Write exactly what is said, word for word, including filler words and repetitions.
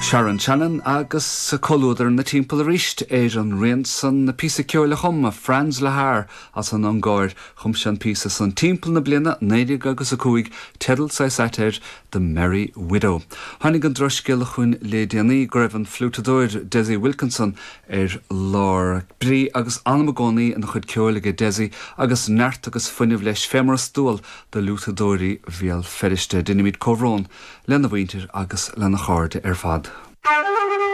Sharon Shannon agus comhluadar na timpeall arís ar an rian san na píosa ceoil a chum Franz Lehár as an Ungáir chum sé an píosa san timpeall na bliana naoi déag agus a cúig teideal ait air The Merry Widow. Tháinig an drochscéala chugainn le déanaí go raibh an fliútadóir Dessie Wilkinson ar lár. Brí agus anam i gcónaí ina chuid ceoil aige Dessie agus neart agus fuinneamh leis fé mar is dual do fhliútadóirí Bhéal Feirste. Deinimid comhbhrón lena mhuintir agus lena chairde ar fad.